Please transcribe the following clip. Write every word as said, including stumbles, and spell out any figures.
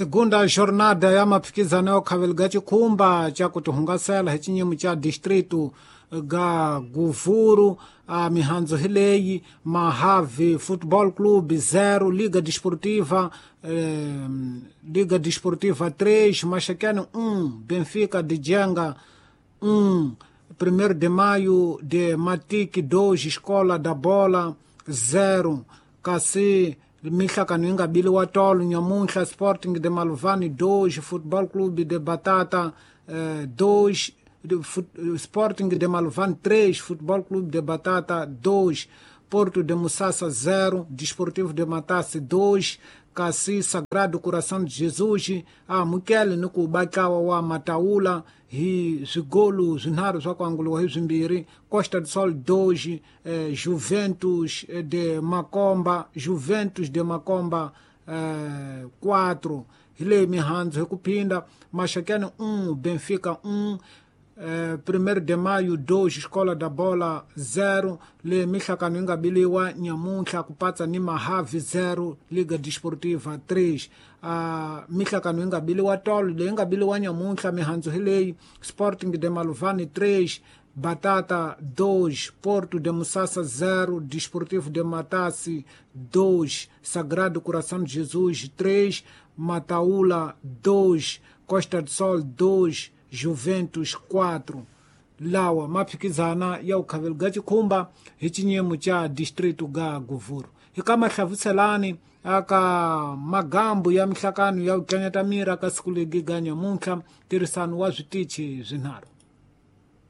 Segunda jornada ya maphikizano ya ukhaveli ga chikhumba cha kutihungasela hi chinyimo cha distrito ga Guvuru. A mihandzu hi leyi: Mahavi Football Club zero, Liga Desportiva eh, Liga Desportiva três, Maxaquene um, Benfica de Jenga um, primeiro de Maio de Matique dois, Escola da Bola zero, kasi mihlakano yi nga biliwa tolo nyamuntlha: Sporting de Maluvani dois, Football Club de Batata dois, eh, Sporting de Maluvani três, Football Clube de Batata dois, Porto de Musasa zero, Desportivo de Matasse dois, kasi Sagrado Coração de Jesus a mukele ni ku batlawa wa Mataula hi swigolu swinharhu swa ku anguliwa hi swimbirhi, Costa do Sol dois, eh, Juventus de Makomba Juventus de Makomba eh, quatro. Hi leyi mihandzu hi ku phinda: Maxakene um, Benfica um, eh, primeiro de Maio dois, Escola da Bola zero. Le mihlakano yi nga biliwa nyamuntlha ku patsa ni Mahavi zero, Liga Desportiva três. Uh, mihlakano yi nga biliwa tolo, leyi nga biliwa nyamuntlha, mihandzu hi leyi: Sporting de Maluvani três, Batata dois, Porto de Musasa zero, Desportivo de Matasi dois, Sagrado Coração de Jesus três, Mataula dois, Costa do Sol dois, Juventus quatro. Lawa maphikizana ya ukhaveli ga chikhumba hi chinyimo cha distrito ga Guvuru. Hi ka mahlavuselani aka magambu ya mihlakano ya ku tlanyata miri aka siku legi ga nyamuntlha, ntirhisano wa switichi swinharhu.